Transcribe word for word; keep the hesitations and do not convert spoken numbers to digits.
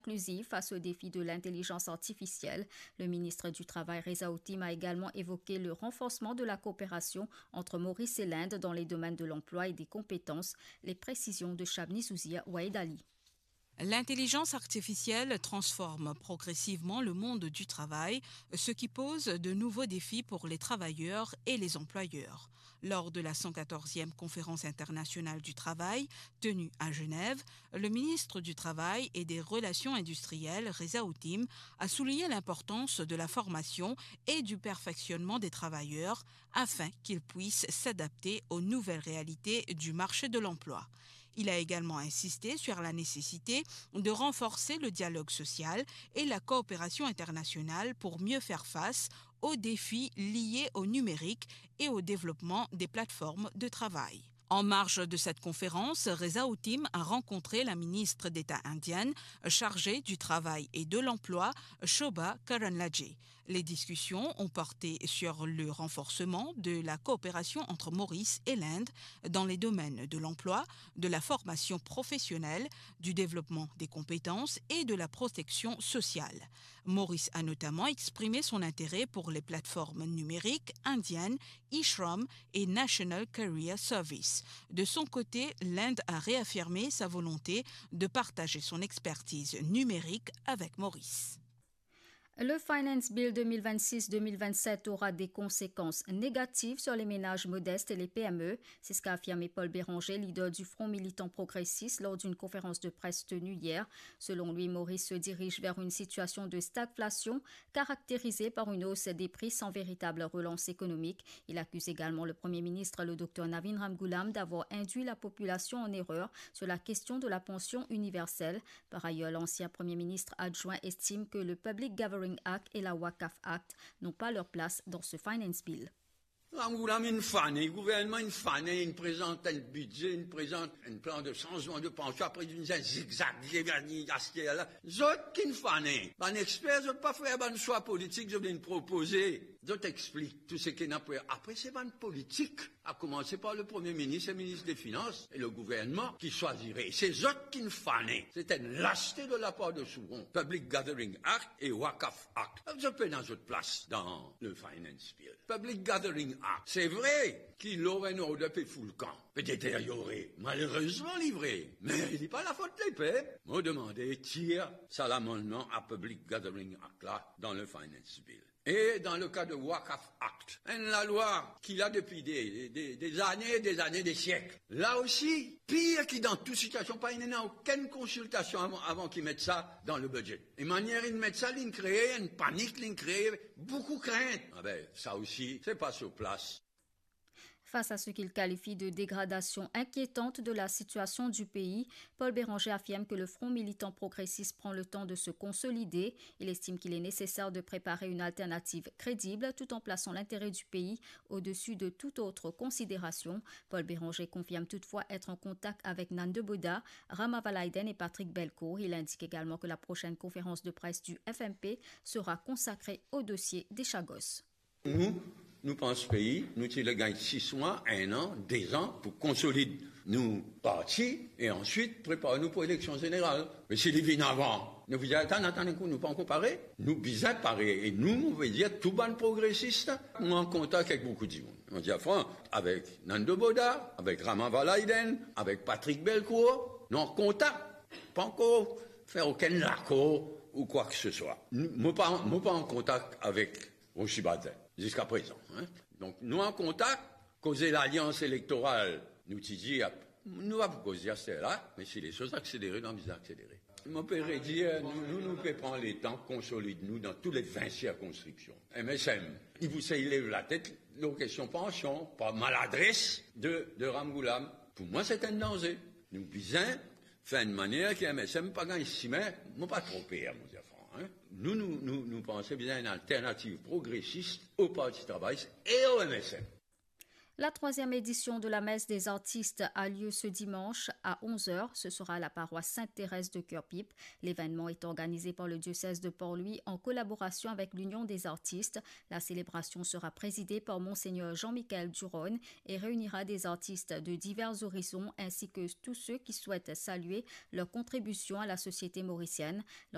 inclusive face au défi de l'intelligence artificielle. Le ministre du Travail, Reza Otim, a également évoqué le renforcement de la coopération entre Maurice et l'Inde dans les domaines de l'emploi et des compétences. Les précisions de Shabni Zouzia Wahed Ali. L'intelligence artificielle transforme progressivement le monde du travail, ce qui pose de nouveaux défis pour les travailleurs et les employeurs. Lors de la cent quatorzième conférence internationale du travail, tenue à Genève, le ministre du Travail et des Relations industrielles, Reza Otim, a souligné l'importance de la formation et du perfectionnement des travailleurs afin qu'ils puissent s'adapter aux nouvelles réalités du marché de l'emploi. Il a également insisté sur la nécessité de renforcer le dialogue social et la coopération internationale pour mieux faire face aux défis liés au numérique et au développement des plateformes de travail. En marge de cette conférence, Reza Otim a rencontré la ministre d'État indienne chargée du travail et de l'emploi, Shobha Karandlaje. Les discussions ont porté sur le renforcement de la coopération entre Maurice et l'Inde dans les domaines de l'emploi, de la formation professionnelle, du développement des compétences et de la protection sociale. Maurice a notamment exprimé son intérêt pour les plateformes numériques indiennes eShram et National Career Service. De son côté, l'Inde a réaffirmé sa volonté de partager son expertise numérique avec Maurice. Le Finance Bill deux mille vingt-six deux mille vingt-sept aura des conséquences négatives sur les ménages modestes et les P M E. C'est ce qu'a affirmé Paul Bérenger, leader du Front militant progressiste, lors d'une conférence de presse tenue hier. Selon lui, Maurice se dirige vers une situation de stagflation caractérisée par une hausse des prix sans véritable relance économique. Il accuse également le Premier ministre, le docteur Navin Ramgoolam, d'avoir induit la population en erreur sur la question de la pension universelle. Par ailleurs, l'ancien Premier ministre adjoint estime que le Public Gathering Act et la Waqf Act n'ont pas leur place dans ce Finance Bill. Ramgoolam inn fane, gouvernman inn fane, inn prezant enn bidze, inn prezant enn plan de sanzman de pansion, apre inn fer zigzag, zigzag, aster la. Zot ki'nn fane. Bann exper, zot pa fer bann swa politik, zot vinn propoze, zot explik tou seki ena pou fer. Apre, se bann politik, a komanse par le Premier ministre, le ministre des Finances et le gouvernement ki swazire. Se zot ki'nn fane. Se enn laste de lapar de Souhon. Public Gathering Act e Waqf Act. Zot pena zot plas dan le Finance Bill. Public Gathering Act, se vre ki law and order pe foulkan, pe deteryore. Malerezman, li vre, me li pa lafot lepep. Mo demande tir sa lamannman a Public Gathering Act la dan le Finance Bill. E dan le ka de Waqf Act, enn lalwa ki la depi de, de, de zane, de zane, de siek. La osi, pir ki dan tou sitiasion, pa ena okenn konsiltasion avan, avan ki met sa dan le bidze. E manier inn met sa, li'nn kree enn panik, li'nn kree boukou krint. Abe, sa osi, se pa so plas. Face à ce qu'il qualifie de dégradation inquiétante de la situation du pays, Paul Bérenger affirme que le Front militant progressiste prend le temps de se consolider. Il estime qu'il est nécessaire de préparer une alternative crédible tout en plaçant l'intérêt du pays au-dessus de toute autre considération. Paul Bérenger confirme toutefois être en contact avec Nando Bodha, Rama Valaiden et Patrick Belcourt. Il indique également que la prochaine conférence de presse du F M P sera consacrée au dossier des Chagos. Nou, nou pans pei, nou ti le gagn sis mwa, enn an, de zan pou konsolid nou parti e answit prepar nou pou eleksion zeneral. Me si li vinn avan, nou bizin atann, atann enn kou, nou pa ankor pare. Nou bizin pare e nou, mo ve dir tou bann progresis, nou an kontak avek boukou dimoun. Mo dir fran, avek Nando Bodha, avek Rama Valaiden, avek Patrick Belcourt, nou an kontak. Pa ankor fer okenn lakor ou kwa ki se swa. Mo pa, mo pa an kontak avek Rosi Badin, ziska prezan, en. Donk, nou an kontak, koze lalians elektoral, nou ti dir, nou pa pou koze aster la, me si lesoz akselere, nou bizin akselere. Mo pe redir, nou, nou, nou pe pran letan konsolid nou dan tou le vin sirkonskripsion. M S M, li pou sey lev latet lor kestion pansion, par maladres de, de Ramgoolam. Pou mwa, se enn danze. Nou bizin fer enn manier ki M S M pa gagn simin, mo pa tro per, mo dir fran, en. Nou, nou, nou, nou panse bizin enn alternativ progresis o Parti Travayis e o M S M. La troisième édition de la messe des artistes a lieu ce dimanche à onze heures. Ce sera à la paroisse Sainte-Thérèse de Curepipe. L'événement est organisé par le diocèse de Port-Louis en collaboration avec l'Union des artistes. La célébration sera présidée par Monseigneur Jean-Michel Duronne et réunira des artistes de divers horizons ainsi que tous ceux qui souhaitent saluer leur contribution à la société mauricienne.